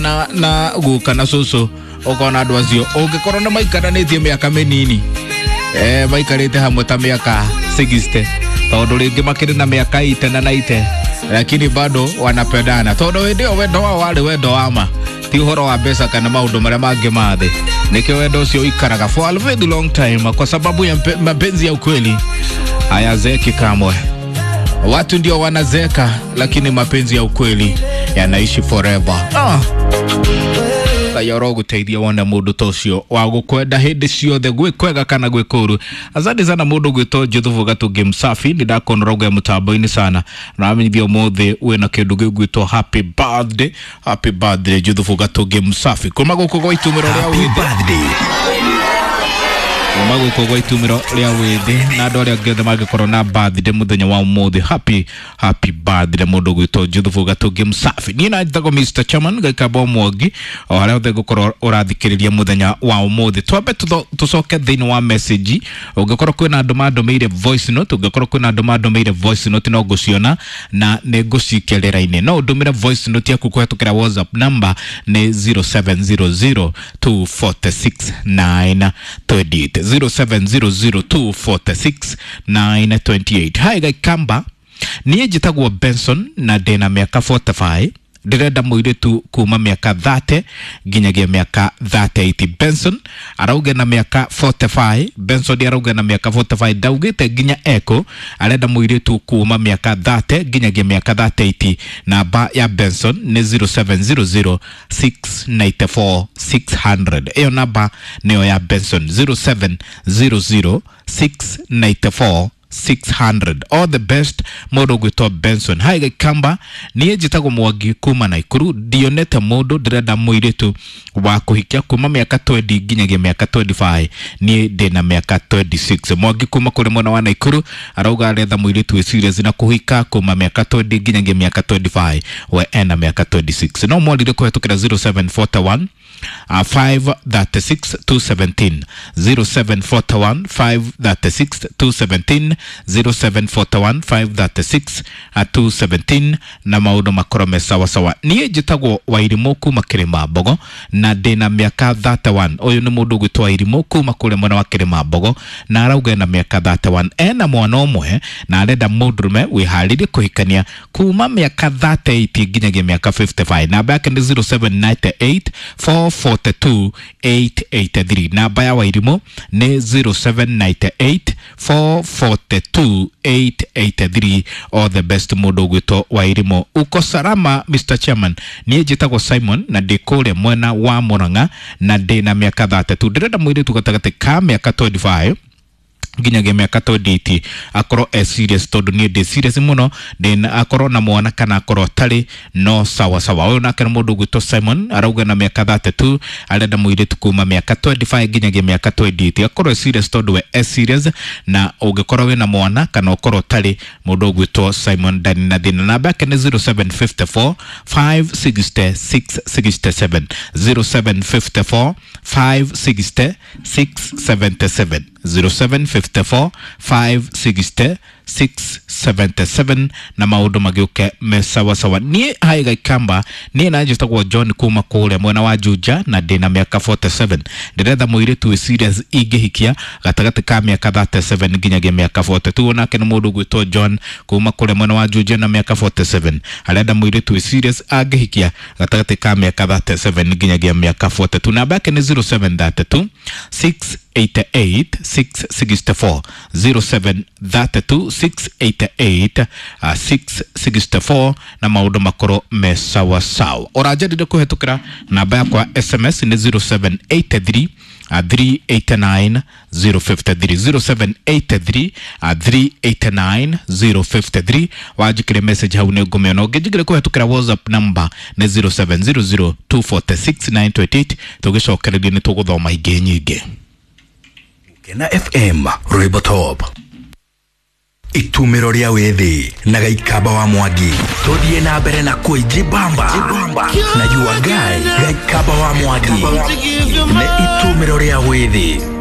Na guka na cucu ukona andu acio ungikorwo nĩ maikaranĩtie mĩaka mĩnini, maikarĩte hamwe ta mĩaka 60, tondũ rĩngĩ makĩrĩ na mĩaka ite na ite, lakini bado wanapendana, tondũ hĩndĩ ĩyo wendo wao warĩ wendo wa ma, ti ũhoro wa mbeca kana maũndũ marĩa mangĩ ma thĩ. Nĩkĩo wendo ũcio ũikaraga for a very long time, kwa sababu ya mapenzi ya ukweli hayazeeki kamwe. Watu ndio wanazeeka, lakini mapenzi ya ukweli yanaishi forever. Ah. Ngai aroguteithia wone mundu ta ucio wa gukwenda hindi ciothe, gwĩ kwega kana gwĩ kũru. Asante sana mundu gwĩtwo Juthubu Gatungi Msafi, nĩ ndakuona ũrauga mũtambo-inĩ sana na wamenyithia ũmũthĩ wĩna kĩndũ gĩgwĩtwo happy birthday. Happy birthday, Juthubu Gatungi Msafi, kuma gũkũ gwa itumĩro rĩa Happy wĩthĩ. Birthday. Kuma gũkũ gwa itumĩro rĩa wĩthĩ na andũ arĩa angĩ othe mangĩkorwo na birthday mũthenya wa ũmũthĩ, happy happy birthday, mũndũ gwĩtwo Juthubu Gatungi Msafi. Niĩ na njĩtagwo Mr Chairman Gaikamba Mwangi, o harĩa othe ngũkorwo ũrathikĩrĩria mũthenya wa ũmũthĩ. Twambe tũcoke thĩinĩ wa message. Ũngĩkorwo kwĩna andũ mandũmĩire voice note, ũngĩkorwo kwĩna andũ mandũmĩire voice note, no ngũciona na nĩ ngũcikia rĩera-inĩ. No ũndũmĩre voice note yaku kũhetũkĩra WhatsApp, number nĩ 0700 246 928, 0700 246 928. Hi Gaikamba, niĩ njĩtagwo Benson na ndĩna mĩaka 45. Ndĩrenda mũirĩtu kuma mĩaka 30 nginyagia mĩaka 38. Benson arauga na mĩaka 45. Benson arauga na mĩaka 45, ndaugĩte nginya eko. Arenda mũirĩtu kuma mĩaka 30 nginyagia mĩaka 38. Namba ya Benson nĩ 0700 694 600. Ĩyo namba nĩyo ya Benson, 0700 694 600. All the best, mũndũ ũgwĩtwo Benson. Hi Gaikamba, niĩ njĩtagwo Mwangi kuma Naikuru. Ndionete mũndũ, ndĩrenda mũirĩtu wa kũhikia kuma mĩaka 20 nginyagia mĩaka 25. Niĩ ndĩna mĩaka 26. Mwangi kuma kũrĩ mwena wa Naikuru arauga aretha mũirĩtu wĩ serious na kũhika kuma mĩaka 20 nginyagia mĩaka 25, we ena mĩaka 26. No mwarire kũhetũkĩra 0741 536 217, 0741 536 217, 0741 536 217, na maũndũ makorwo me sawasawa. Niĩ njĩtagwo Wairimũ kuma Kĩrĩma Mbogo na ndĩna mĩaka 31. Ũyũ nĩ mũndũ ũgwĩtwo Wairimũ kuma kũrĩa mwena wa Kĩrĩma Mbogo na arauga ena mĩaka 31, ena mwana ũmwe na arenda mũndũrũme wĩharĩrie kũhikania kuma mĩaka 38 nginyagia mĩaka 55. Namba yake nĩ 0798 442 883. Namba ya Wairimũ nĩ 0798 442 883. All the best, mũndũ ũgwĩtwo Wairimũ. Uko salama, Mr Chairman? Niĩ njĩtagwo Simon na ndĩ kũrĩa mwena wa Murang'a na ndĩ na mĩaka 32. Ndĩrenda mũirĩtu gatagatĩ ka mĩaka 25 nginyagia mĩaka 28, akorwo e serious tondũ niĩ ndĩ serious mũno. Ndĩna akorwo na mwana kana akorwo atarĩ, no sawa sawa. Ũyũ nake nĩ mũndũ ũgwĩtwo Simon, arauga na mĩaka 32, arenda mũirĩtu kuma mĩaka 25 nginyagia mĩaka 28, akorwo e serious tondũ we e serious, na ũngĩkorwo wĩna mwana kana ũkorwo ũtarĩ, mũndũ ũgwĩtwo Simon ndani na thĩna. Namba yake nĩ 0754 560 667, 0754 560 677, 0754 560 677, na maũndũ magĩũke me sawasawa. Niĩ hi Gaikamba, niĩ na njĩtagwo John kuma kũrĩa mwena wa Juja na ndĩna mĩaka 47. Ndĩretha mũirĩtu wĩ serious ingĩhikia gatagatĩ ka mĩaka 37 nginyagia mĩaka 42. Nake nĩ mũndũ ũgwĩtwo John kuma kũrĩa mwena wa Juja na mĩaka 47, arenda mũirĩtu wĩ serious angĩhikia gatagatĩ ka mĩaka 37 nginyagia mĩaka 42. Namba yake nĩ 0732 688 664, 0732 688 664, na maũndũ makorwo me sawa sawa. Ũranjarire kũhetũkĩra namba yakwa SMS nĩ 0783 389 053, 0783 389 053. Wanjikire message hau nĩ ngũmĩona. Ũngĩnjikire kũhetũkĩra WhatsApp, number nĩ 0700 246 928. Tũgĩcokereria nĩ tũgũthoma ingĩ nyingĩ. Kena FM Rwĩmbo Top, itumĩro rĩa wĩthĩ na Gaikamba wa Mwangi. Tũthiĩ na mbere na kwĩjibamba na your guy Gaikamba wa Mwangi. Nĩ itumĩro rĩa wĩthĩ.